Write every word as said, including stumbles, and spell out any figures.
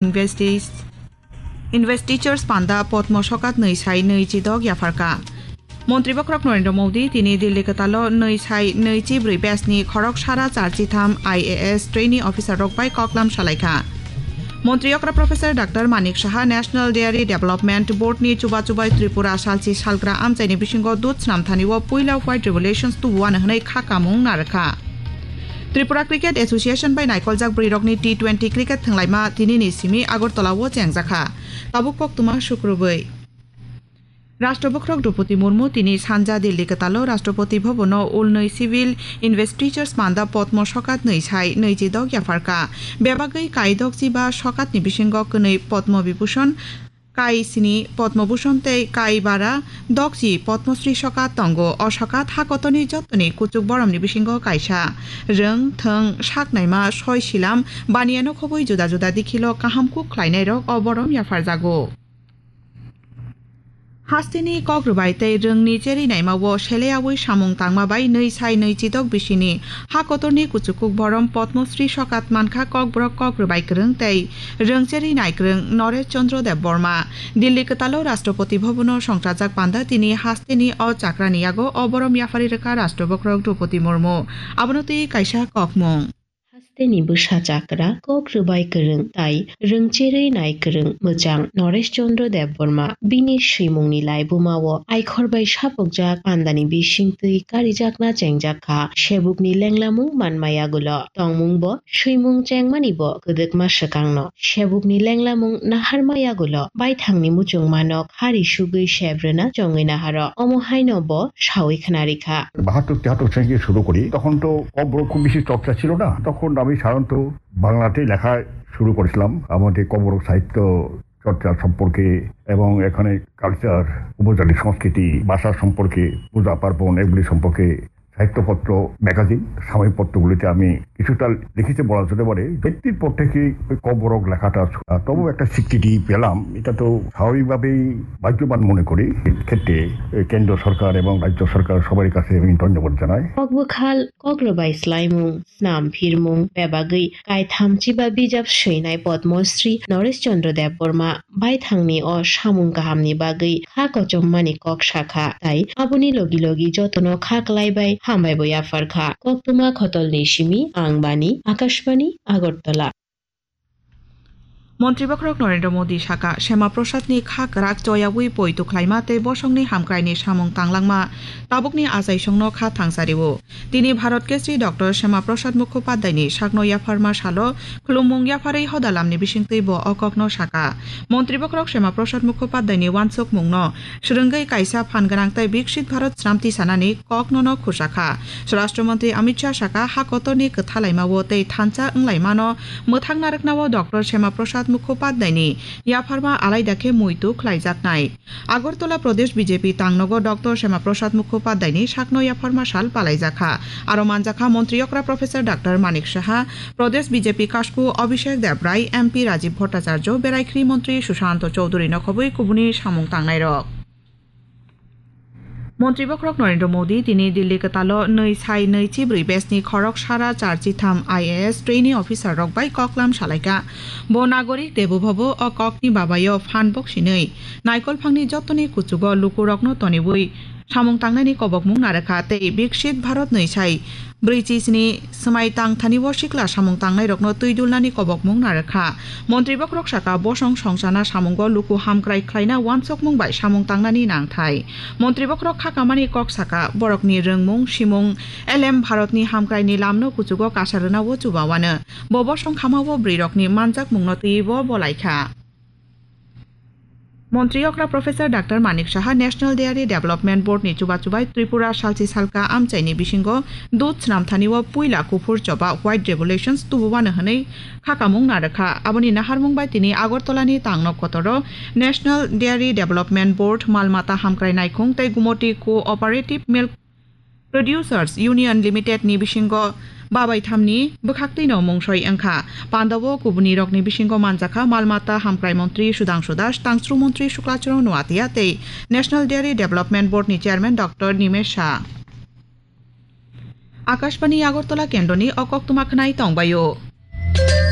Investi-, Investitures panda Potmo sokat nwi sai nwi chidok yapharka. Montri bokhorok Narendra Modi tini Delhi kwtalo nwi sai nwi chibrwi batch ni khorok sara char chitham I A S trainee officer rok bai koklam salaikha. Montri okra Professor Doctor Manik Saha National Dairy Development Board ni chuba chubai Tripura salchi salgra amchaini bisingo dud snamthani o puila white revelations tubuano hwnwi kha kamung narwkha. Tripura Cricket Association bai naikoljak bwrwirokni T twenty cricket thwnglaima tinini simi Agartala o chengjakha. Tabuk koktwma sukrubwi. Rashtra bokhorok Droupadi Murmu tini sanja Delhi kwtalo Rashtrapati Bhavan o ulnwi Civil Investitures panda Potmo sokat nwi sai nwi chidok yapharka. Bebagwi kaidok chiba sokatni bisingo kwnwi Potmo Vibhushan, kai sini Potmo Bhushan tei kai bara dokchi Potmo Shri sokat tongo. O sokat ha kotorni jottoni kuchuk boromni bisingo kaisa. Rwng, thwng, sak naima, soi silam, baniano khobwi juda juda dikhilo kaham kuk khlainairok o borom yapharjago. Hasteni kok rwbai tei rwngni cherwi naima o seleyaui samung tangma bai nwi sai nwi chidok bisini ha kotorni kuchukuk borom Padma Shri sokat mankha Kokborok kok rwbai kwrwng tei rwng cherwi nai kwrwng Noresh Chandra Debbarma. Delhi kwtalo Rashtrapati Bhavan o songchajak panda tini hasteni o chakrani yago o borom yapharwi rwkha Rashtra bokhorok Droupadi Murmu. Abono twi kaisa kokmung. Hasteni bwsa chakra, kok rwbai kwrwng tai rwng cherwi nai kwrwng mwchang Noresh Chandra Debbarma bini swimungni laibuma o aikhor bai sapokjak pandani bisingtwi karijakna chengjak kha. Sebukni lenglamung manma yagulo tongmung bo swimung chengmani bo kwdwkma swkangno. Sebukni lenglamung naharma yagulo baithangni muchungmano khari sugwi sebrwna chongwi naharo. Omo haino bo saui khwnarikha. বাহাত্তর তিয়াত্তর থেকে শুরু করি, তখন তো ককবরক খুব বেশি চর্চা ছিল না। তখন আমি সাধারণত বাংলাতেই লেখা শুরু করেছিলাম। আমাদের ককবরক সাহিত্য চর্চা সম্পর্কে এবং এখানে কালচার, উপজাতি সংস্কৃতি, ভাষা সম্পর্কে, পূজা পার্বণ, এগুলি সম্পর্কে সাহিত্যপত্র, ম্যাগাজিন, সাময়িক পত্রগুলিতে আমি কিছুটা লিখেছি বলা যেতে পারে। ব্যক্তির পর থেকে ওই ককবরক লেখাটা, আহ, তবু একটা স্বীকৃতি পেলাম। এটা তো স্বাভাবিকভাবেই ভাগ্যবান মনে করি। এক্ষেত্রে, এ, কেন্দ্র সরকার এবং রাজ্য সরকার সবারই কাছে আমি ধন্যবাদ জানাই। Kokbwkhal, kokrwbai swlaimung, snam phirmung, bebagwi kaitham chiba bijap swinai Padmasri Noresh Chandra Debbarma baithangni o samung kahamni bagwi kha kochommani kok sakha, tai aboni logi logi jotono kha kwlaibai hambai bo yapharkha. Koktwma khotolni simi, ang Bani, Akashbani, Agartala. Montri bokhorok Narendra Modi saka, Shema Prasad ni kha kwrak choyaui poito khlaima tei bosongni hamkraini samung tanglangma tabukni achaisongno kha thangsario. Tini Bharat Keshri Doctor Shema Prasad Mukhopadhyay ni sakno yapharma salo khulumung yapharwi hodalamni bisingtwi bo o kokno saka. Montri bokhorok Shema Prasad Mukhopadhyay ni wansukmungno swrwngwi kaisa phan gwnang tei Viksit Bharat snamti sanani koknono khusakha. Swarashtra Mantri Amit Shah saka, ha kotorni kwthalaima o tei thansa wnglaimano mwthang narwkna o Doctor Shema Prasad Mukhopadhyay ni yapharma alaida khe muitu khlaijaknai. Agartala Pradesh B J P tangnogo Doctor Shema Prasad Mukhopadhyay ni sakno yapharma sal palaijakha. Aro manjakha Montri okra Professor Doctor Manik Saha, Pradesh B J P kasku Abhishek Debrai, M P Rajiv Bhattacharya, Beraikhri Montri Sushanta Chowdhury no khobwi kubuni samung tangnairok. Montri bokhorok Narendra Modi tini Delhi kwtalo nwi sai nwi chibrwi batch ni khorok sara char chitham I A S trainee officer rok bai koklam salaikha. Bo nagorik debobhabo o kokni babayo phan boksinwi naikolphangni jotoni kuchugo lukurokno toniwi samung tangnani kobokmung narwkha tei Viksit Bharat nwi sai brwi chisni swmai tang thani o sikla samung tangnairokno twi dulnani kobokmung narwkha. Montri bokhorok saka, bosong songchana samungo luku hamkrai khlaina wansukmung bai samung tangnani nangthai. Montri bokhorok kha kamani kok saka, borokni rwngmung, simung, elem Bharatni hamkraini lamno kuchugo kasa rwna o chuba wano. Bo bosong khama o bwrwirokni manjakmungno twiwi bo bolaikha. Montri okra Professor Doctor Manik Saha National Dairy Development Board ni chuba chubai Tripura salchi salka amchaini bisingo dud snamthani o puila kuphur choba white revelations tububano hwnwi kha kamung narwkha. Aboni naharmung bai tini Agartala ni tangno kotoro National Dairy Development Board, Malmata Hamkrai Naikhung tei Gumoti Cooperative Milk Producers Union Limited ni bisingo babai thamni bwkhaktwino mungsoi wngkha. Pandao kubunirokni bisingo manjakha Malmata Hamkrai Montri Sudhangshu Das, Tangsru Montri Shukla Charan Noatia tei National Dairy Development Board ni Chairman Doctor Nimesh Shah. Akashbani Agartala kendroni o koktwma khwnai tongbaio.